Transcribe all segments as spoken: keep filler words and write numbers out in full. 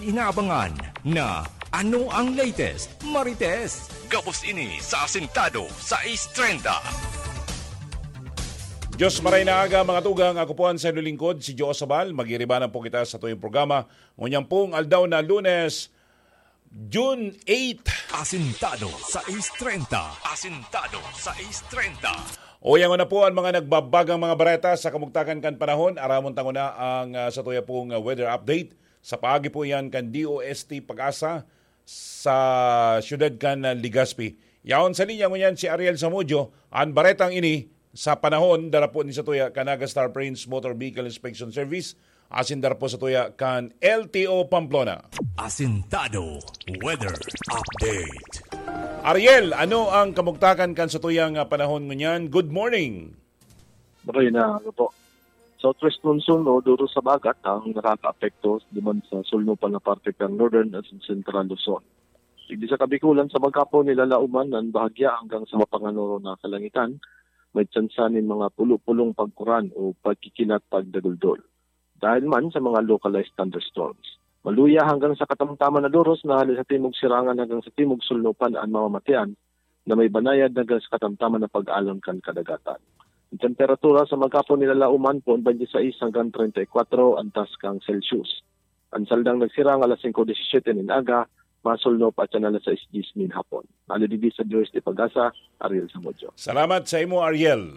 Inaabangan na ano ang latest, Marites? Gabos ini sa Asintado sais treinta. Diyos maray na aga, mga tugang. Ako po ang sa lingkod, si Joe Sabal. Magiribanan po kita sa tuyong programa. Ngunyan pong aldaw na Lunes, June eight. Asintado sais treinta. Asintado sais treinta. Uyangon na po ang mga nagbabagang mga bareta sa kamugtakan kan panahon. Aramon tango na ang, ah, sa tuya pong, ah, weather update. Sa paagi po iyan kan D O S T Pag-asa sa siyudad kan, ah, Legazpi. Yaon sa linya ngunyan si Ariel Zamudio. Ang baretang ini sa panahon, dara po ni sa tuya kan Naga Star Prince Motor Vehicle Inspection Service, asin dara po sa tuya kan L T O Pamplona. Asintado Weather Update. Ariel, ano ang kamugtakan kan sa tuyang, ah, panahon ngunyan? Good morning. Maray na, ano po. Southwest monsoon o duro sa bagat ang nakakaapekto duman sa sulnupan na parte kan Northern at Central Luzon. Digdi sa Kabikulan, sa maghapon, nilalauman ang bahagya hanggang sa mapanganoro na kalangitan, may tsansa nin mga pulo-pulong pagkuran o pagkikilat pagdaguldol. Dahil man sa mga localized thunderstorms. Maluya hanggang sa katamtaman na doros na hali sa timog sirangan hanggang sa timog sulnupan ang mamamatean na may banayad hanggang sa katamtaman na pag-alon kan kadagatan. Ang temperatura sa maghapon nilalauman poon twenty-six hanggang treinta y cuatro antas kan Celsius. Ang saldang nagsirang alas singko disisete nin aga, masulno pa siya na alas sais diyes nin hapon. Hali digdi sa D O S T Pag-asa, Ariel Zamudio. Salamat sa imo, Ariel.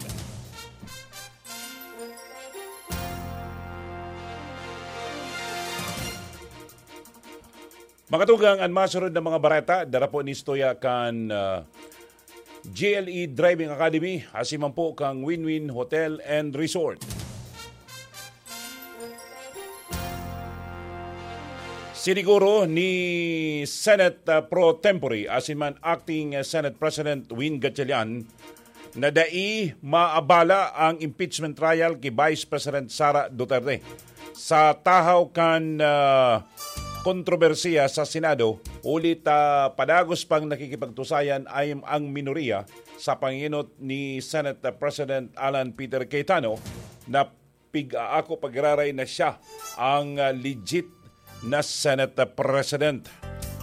Mga tugang, ang masunod na mga bareta, dara po ni Stoya kan, ah, G L E Driving Academy, asin man po kang Win-Win Hotel and Resort. Siniguro ni Senate, ah, Pro Tempore, asin man Acting, ah, Senate President Win Gatchalian, na dai maabala ang impeachment trial ki Vice President Sara Duterte. Sa tahaw kan, ah, kontrobersiya sa Senado, huli ta padagos pang nakikipagtusayan ay ang minoriya sa pangenot ni Senate President Alan Peter Cayetano na pig-aako pag-iraray na siya ang, ah, legit na Senate President.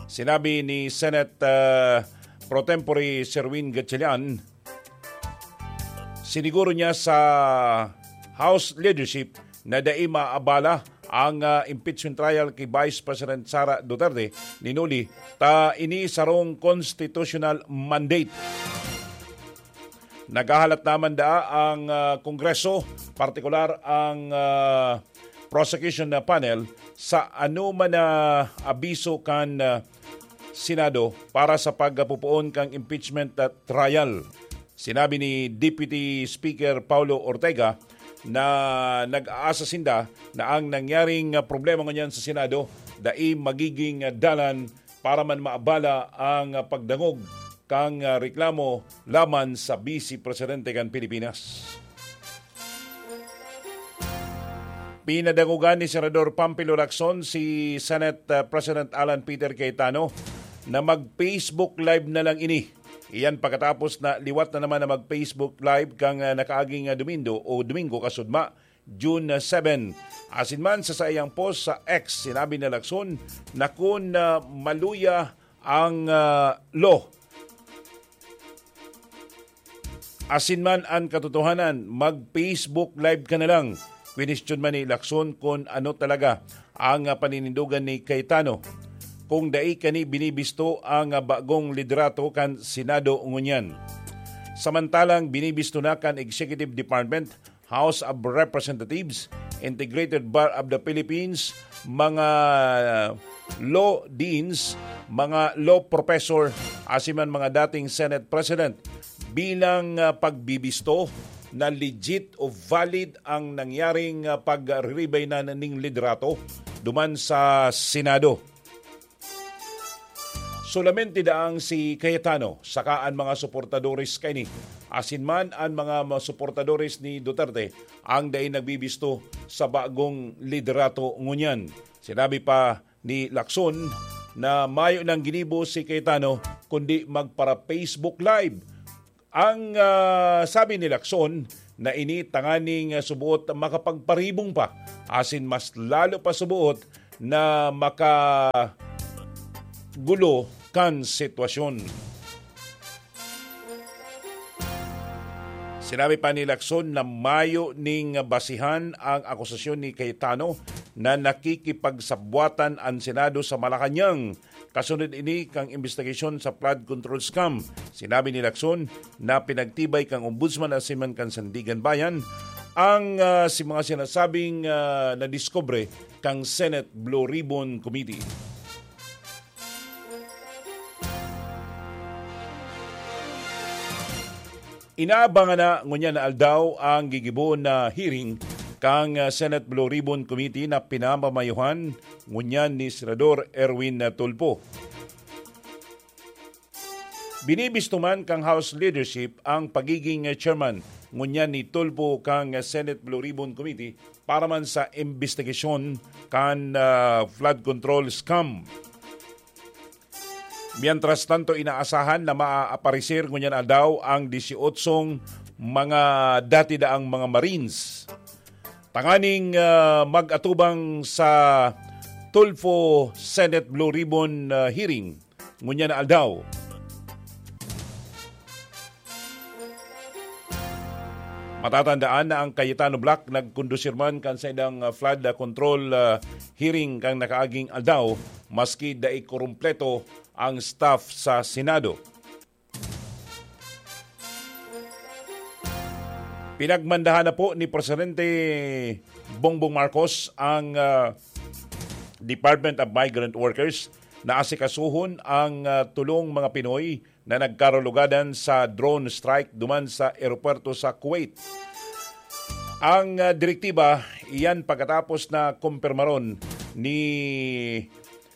Sinabi ni Senate, ah, Pro Tempore Sherwin Gatchalian, siniguro niya sa House leadership na dai maabala ang, ah, impeachment trial ki Vice President Sara Duterte, nin huli ta ini sarong constitutional mandate. Naghahalat naman daa ang, ah, Kongreso, partikular ang, ah, prosecution na panel, sa anoman na abiso kan, ah, Senado para sa pagpupoon kan impeachment, ah, trial. Sinabi ni Deputy Speaker Paulo Ortega na nag-aasa sinda na ang nangyaring, ah, problema ngunyan sa Senado dai magiging, ah, dalan para man maabala ang, ah, pagdangog kan, ah, reklamo laban sa Vice Presidente kan Pilipinas. Pinadangogan ni Senador Panfilo Lacson si Senate, ah, President Alan Peter Cayetano na mag-Facebook Live na lang ini. Iyan pagkatapos na liwat na naman na mag-Facebook Live kan, ah, nakaaging, ah, Domingo o Domingo kasudma, June seven. Asin man sa saiyang post sa X, sinabi ni Lacson na kun, ah, maluya ang, ah, law, asin man an katotohanan, mag-Facebook Live ka na lang. Kwinestyon man ni Lacson kun ano talaga ang, ah, paninindogan ni Cayetano kung dai kani binibisto ang, ah, bagong liderato kan Senado ngunyan. Samantalang binibisto na kan Executive Department, House of Representatives, Integrated Bar of the Philippines, mga law deans, mga law professor, asin man mga dating Senate President bilang, ah, pagbibisto na legit o valid ang nangyaring, ah, pagriribay na ning liderato duman sa Senado. Solamente daang si Cayetano saka an mga suportadores kaini, asin man an mga ma-, suportadores ni Duterte ang dai nagbibisto sa bagong liderato ngunyan. Sinabi pa ni Lacson na mayo nang ginibo si Cayetano kundi magpara-Facebook Live. Ang, ah, sabi ni Lacson na ini tanganing, ah, suboot makapagparibong pa asin mas lalo pa suboot na makagulo kan sitwasyon. Sinabi pa ni Lacson na mayo ning basihan ang akusasyon ni Cayetano na nakikipagsabwatan an Senado sa Malacañang. Kasunod ini kan imbestigasyon sa flood control scam. Sinabi ni Lacson na pinagtibay kan Ombudsman asin man kan Sandigan Bayan ang, ah, si mga sinasabing, ah, nadiskubre kan Senate Blue Ribbon Committee. Inaabangan na ngunyan na aldaw ang gigibohon na hearing kan, ah, Senate Blue Ribbon Committee na pinamamayuhan ngunyan ni Senador Erwin Tulfo. Binibisto man kan House leadership ang pagiging chairman ngunyan ni Tulfo kan Senate Blue Ribbon Committee para man sa imbestigasyon kan, ah, flood control scam. Mientras tanto, inaasahan na maaaparecer ngunyan aldaw ang disyotso mga dati daang mga Marines tanganing, ah, mag-atubang sa Tulfo Senate Blue Ribbon, ah, hearing ngunyan na aldaw. Matatandaan na ang Cayetano Bloc nagkondusir man kan saindang, ah, flood, ah, control, ah, hearing kan nakaaging aldaw, maski dai kurumpleto ang staff sa Senado. Pinagmandahan na po ni Presidente Bongbong Marcos ang, ah, Department of Migrant Workers na asikasuhon ang, ah, tulong mga Pinoy na nagkarulogadan sa drone strike duman sa eropuwerto sa Kuwait. Ang, ah, direktiba, iyan pagkatapos na kumpirmaron ni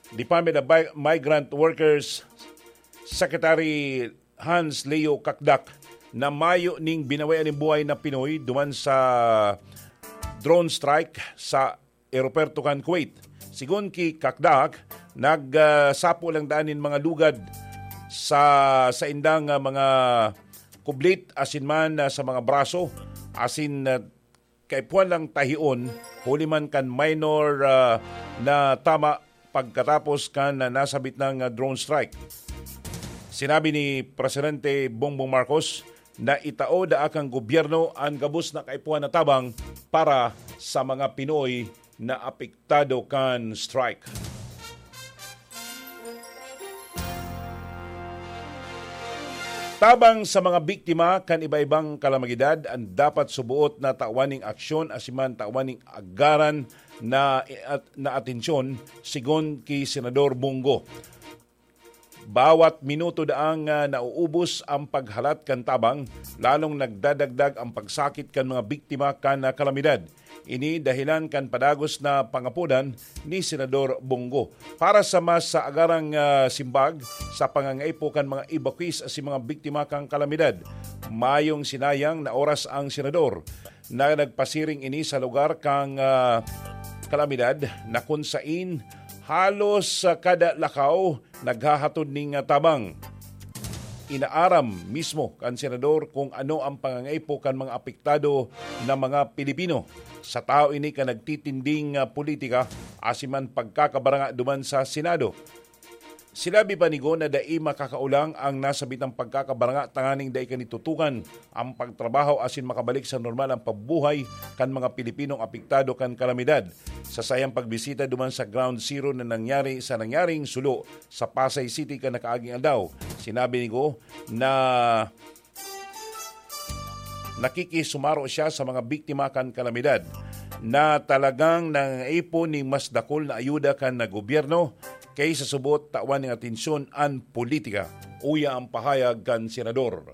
Department of Mi-, Migrant Workers Secretary Hans Leo Cacdac na mayo ning binawian nin buhay na Pinoy duman sa drone strike sa eropuwerto kan Kuwait. Sigon ki Cacdac, nag, ah, sapo lang daan nin mga lugad sa saindang, ah, mga kublit asin man, ah, sa mga braso asin, ah, kaipuhan lang tahion huli man kan minor, ah, na tama pagkatapos kan nasabit nang, ah, drone strike. Sinabi ni Presidente Bongbong Marcos na itao daa kan gobyerno an gabos na kaipuhan na tabang para sa mga Pinoy na apektado kan strike. Tabang sa mga biktima kan iba-ibang kalamidad, an dapat suboot na tawan ning aksyon asin man tawan ning agaran na, at, na atensyon, sigon ki Senador Bong Go. Bawat minuto daang, ah, nauubos ang paghalat kan tabang, lalong nagdadagdag ang pagsakit kan mga biktima kan, ah, kalamidad. Ini dahilan kan padagos na pangapodan ni Senador Bong Go. Para sa mas, ah, agarang, ah, simbag sa pangangaipo kan mga evacuees asin mga biktima kan kalamidad, mayong sinayang na oras ang senador na nagpasiring ini sa lugar kan, ah, kalamidad na kun sain halos, ah, kada lakaw naghahatod ning, ah, tabang. Inaaram mismo kan senador kung ano ang pangangaipo kan mga apektado na mga Pilipino. Sa tawo ini kan nagtitinding, ah, politika asin man pagkakabaranga duman sa Senado. Sinabi pa ni Go na dai makakaolang ang nasabitang pagkakabaranga tanganing dai kan itutukan ang pagtrabaho asin makabalik sa normal ang pagbuhay kan mga Pilipinong apektado kan kalamidad. Sa saiyang pagbisita duman sa Ground Zero na nangyari sa nangyaring sulo sa Pasay City kan nakaaging aldaw, sinabi ni Go na nakikisumaro siya sa mga biktima kan kalamidad na talagang nangangaipo nin mas dakul na ayuda kan gobyerno kaysa subot tawan ning atensyon an politika. Uya ang pahayag kan senador.